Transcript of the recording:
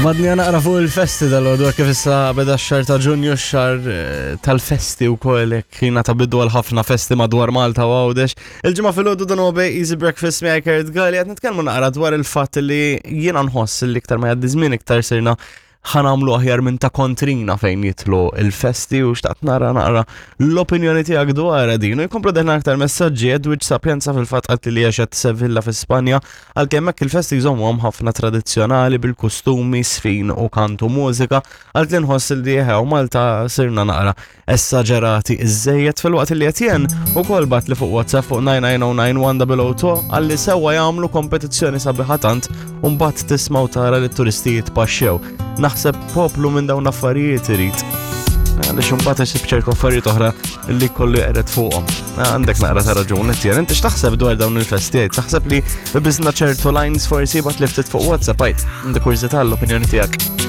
Madni naqra fuq il-festi dal-għodu kif issa beda x-xar ta' Ġunju, x-xar eh, tal-festi u koll kiena ta' bidu għal ħafna festi madwar Malta u Għawdex. Il-ġimgħa fil-għodu dan huwa Easy Breakfast miegħi Kurt Gali qed nitkellmu naqra dwar il-fatt li jiena nħoss li iktar ma jgħaddi żmien iktar sirna ħanamlu aħjar minn ta' kontrina fejn jitlu il-festi u xtaqt nara naqra l-opinjoni tiegħek dwar din. U jkomplu deħna aktar messaġġi Edwidge Sapienza fil-fatt qalt li għexet Sevilla fi Spanja għalkemm hekk il-festi jżommuhom ħafna tradizzjonali bil-kustumi, sfin u kantu mużika għalt li nħoss li jeħew Malta sirna naqra essaġerati iżżejjed filwaqt li Etienne ukoll bat li fuq WhatsApp fuq 9909102 għalli sewwa jagħmlu kompetizzjoni sabiħa tant u mbagħad tisma' u tara li t-turisti jitpaxxew. Naħseb poplu minn dawn affarijiet irid. Għaliex imbagħad isib ċertu affarijiet oħra li kollu jqered fuqhom. Għandek naqra ta' raġun, Etienne, inti x'taħseb dwar dawn il-festijiet? Taħseb li biżna ċertu lines forsi bat li ftit fuq WhatsApp għajt. Għandek kurżità l-opinjoni tiegħek.